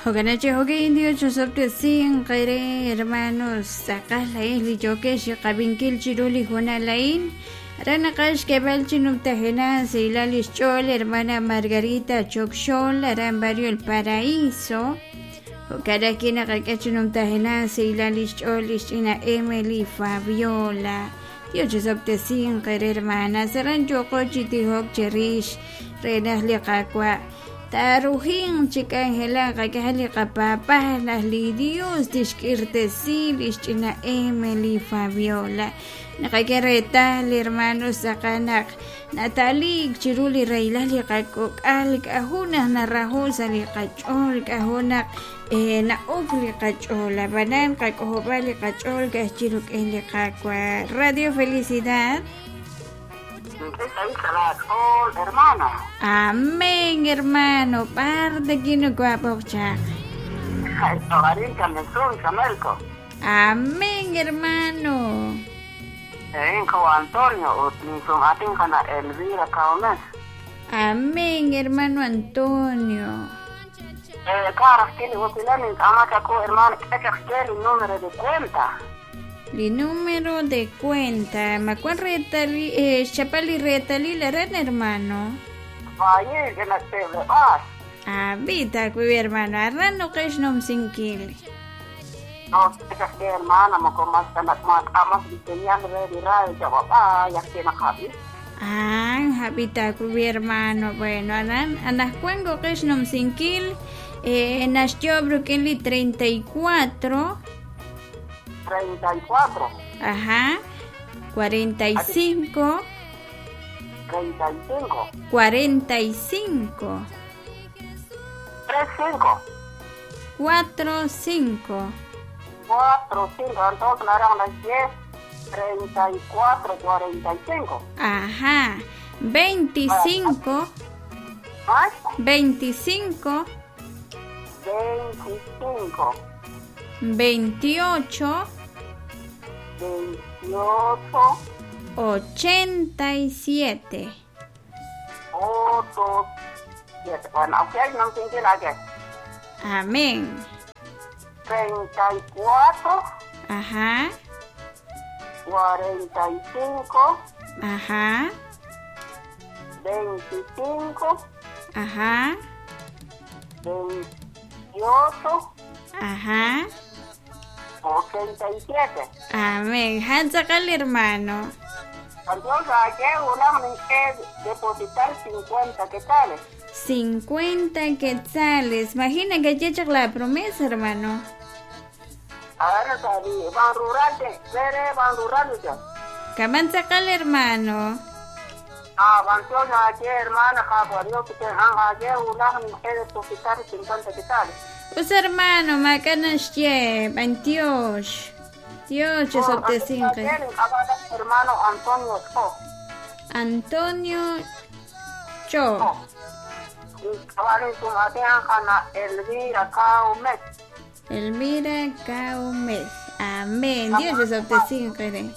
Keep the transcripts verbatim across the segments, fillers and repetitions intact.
Jokanachi jokin Dios osobtesin qere hermanos tz'aqal la'in li yokex qabinkil chiru li junal la'in aran naqax k'eb'al chinumtajena silal ixch'ool hermana Margarita Chokxol aran barrio El Paraíso jo'kan ajwi' naqak'e chinumtajena silal ixch'ool ixch'ina Emily Fabiola Dios osobtesin qere hermana saran yoqo chitijok cherix renaj li qakwa' Tarujin chik'anjela qak'aj li qapapaj laj li Dios tixk'irtesi lixch'ina Emily Fabiola naqak'e reetal hermanos tz'aqal naq natalik chiru li raylal li qak'ok'al k'aju naq narajo sa' li qach'ool k'aju naq eh, na'ok li qach'ool ab'anan qak'ojob'al li qach'ool k'aj chiruk'en li qakwa Radio Felicidad. Hermano. Amén, hermano. Parte kinu. Amén, hermano. Antonio, Elvira. Amén, hermano Antonio. Eh, hermano, el número de cuenta. El número de cuenta, ¿cuál retali, eh, chapali retali la red, hermano? Valle, que la te Ah, vita, cuy hermano, arrano que es nom sinkil. No, es que hermana, mo como hasta la amas diseñando de radio, ya papá, ya que na happy. Ah, habita cuy hermano, bueno, anan anas cuengo que es nom sinkil, eh, nació Brooklyn treinta y cuatro. treinta y cuatro. Ajá. cuarenta y cinco. treinta y cinco. cuarenta y cinco. tres cinco. cuatro cinco. cuatro cinco. Entonces eran las diez, treinta y cuatro, cuarenta y cinco. Ajá. veinticinco. ¿Ah? veinticinco. veinticinco. veintiocho. veintiocho. ochenta y siete. ocho, siete. Bueno, ok, no entiendo la que. Amén. treinta y cuatro. Ajá. cuarenta y cinco. Ajá. veinticinco. Ajá. veintiocho. Ajá. ochenta y siete. Amén. Hanzakal, hermano. Entonces, ayer una que depositar cincuenta quetzales. cincuenta quetzales. Imagina que ya la promesa, hermano. A ver, van rural, van rural ya. Camanzakal, hermano. Ah, entonces ayer, hermana, Dios que ayer una que depositar cincuenta quetzales. Pues hermano, macanasye, Dios. Dios, te hermano Antonio Cho. Antonio Cho. Elvira Caumes. Elvira Caumes. Amén. Dios te cinque.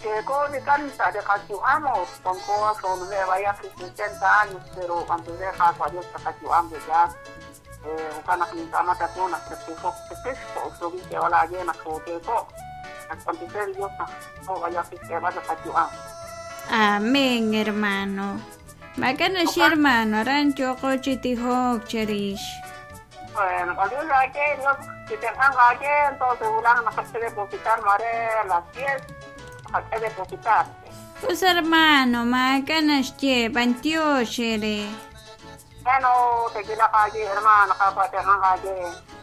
Que con canta de Cachuamo, con cosas de vaya sesenta años, pero cuando deja a Dios Cachuamo ya, eh, una quintana que una que puso que esto, o que va la llena o que eso, cuando Dios no vaya que vaya Cachuamo. Amén, hermano. Bacano sí, hermano, arancho cochitijok cherish. Bueno, cuando yo que Dios si te entonces ulan a depositar mare a las diez. A depositar. Pues hermano, macanas che, pantioxere. Bueno, te quiero calle, hermano, capaz calle.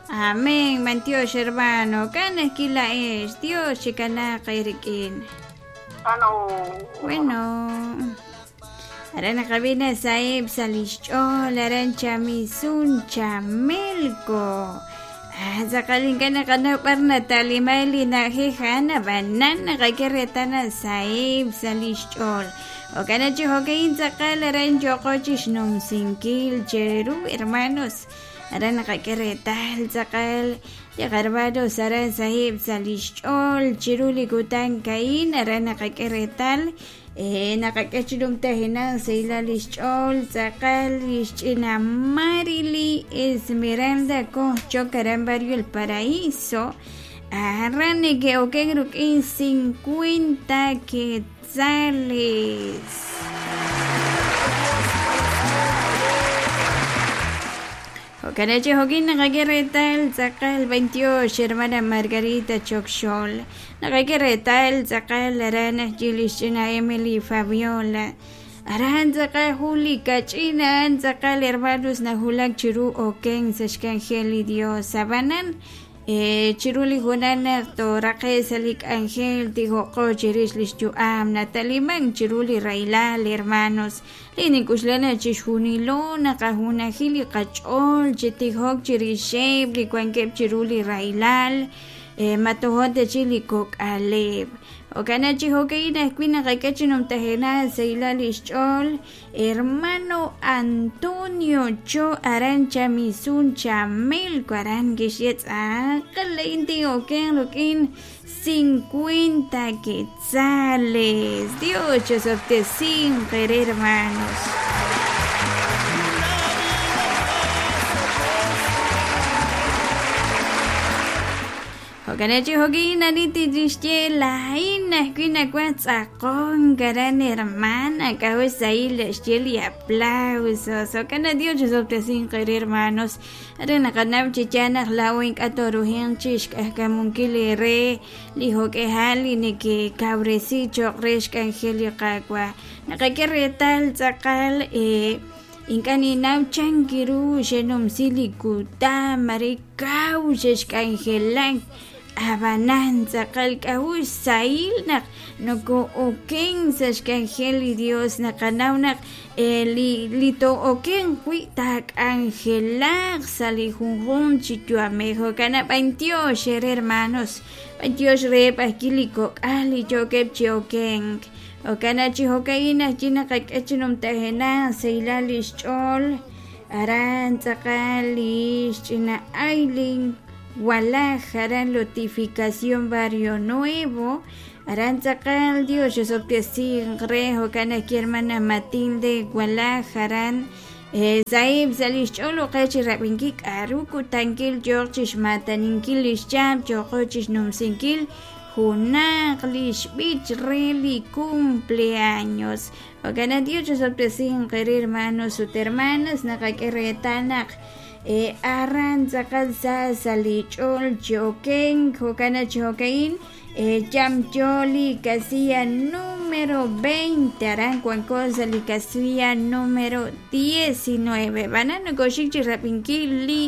Amén, mantiox hermano, canas kila es, Dios chicana kairikin. Bueno. Bueno. Arana cabina saeb salischol, arancha misun chamelco. Sakalin ka na kana parna talimali na hihana banana kakiretana saib salischol. O kana chihokain sakal aran yokochish num sinkil cheru hermanos. Aran kakiretal sakal yagarbado saran sahib salischol chiruli kutan kain aran kakiretal eh naqak'e chi numtajenaq sahilal lix ch'ool tz'aqal lix ch'ina Marily Esmeralda Kojchok aran barrio El Paraíso aran neke'oken ruk'in cincuenta quetzales. Jo'kanachi jo'kin naqak'e reetal tz'aqal veintiocho hermana Margarita Chokxol naqak'e reetal tz'aqal aran ajyi lix ch'ina Emily Fabiola aran tz'aqal jun li kach'ina tz'aqal hermanos najulak chiru oken sa' xk'anjel li Dios abanan eh, chiru li junal naq toraqe sa' li k'anjel tijoqo chirix lix yu'am nataliman chiru li rahilal hermanos li nik'uxlana chixjunilo naqajunajil li qach'ool chi tijok chirixeb' li wankeb' chiru li rahilal eh, matojon chi li kok'aleb' Jo'kan chi jo'ka'in ajwi' naqak'e chi numtajenaq sahilal lix ch'ool hermano Antonio Cho aran Chamisun Chamelco aran kixye tz'aqal la'in tin'oken ruk'in cincuenta quetzales. Dios chosoptesin hermanos. Jo'kanachi jo'kin aniti tixye la'in ajwi' nakuaj tz'aqon karan hermana k'ajo' sahil xye li aplausos. Jo'kan Dios chosoptesin hermanos are naqanaw chi yaal naq laa'o ink'a' torujenq chi xk'ajkamunkil li re li jo'k'ejal li nekekawresi cho'q re xk'anjel li Qaawa' naqak'e reetal tz'aqal eh, ink'a' ninaw chankiru xenumsi li kutan mare kaw xexk'anjelak abanan tz'aqal k'ajo' xsahil naq noko'oken sa' xk'anjel li Dios naqanaw naq eh, li li to'oken wi' taak'anjelaq sa' li junjunq chi yu'amej jo'kan b'antiox hermanos b'antiox reheb' ajwi' li kok'al li yookeb' chi okenk jo'kan chi jo'ka'in ajwi' naqak'e chi numtajenaq sahilal lix ch'ool aran tz'aqal lix ch'ina Aileen Walaj aran Lotificación Barrio Nuevo aran tz'aqal Dios chosoptesin re jo'kan ajwi' hermana Matilde Walaj aran eh, sahib sa' lix ch'ool uqe chi rab'inkil k'aru kutankil yooq chixmataninkil lix chab' yo'qo chixnumsinkil junaq lix b'ich re li cumpleaños. Jo'kan Dios chosoptesin qere hermanos ut hermanas naqak'e reetal naq eh, aran tz'aqal sa sa' li ch'ool chi oken jo'kan chi jo'ka'in eh, yamyo li casilla número veinte aran wanko sa' li casilla número diecinueve. B'anan nokoxik chi rab'inkil li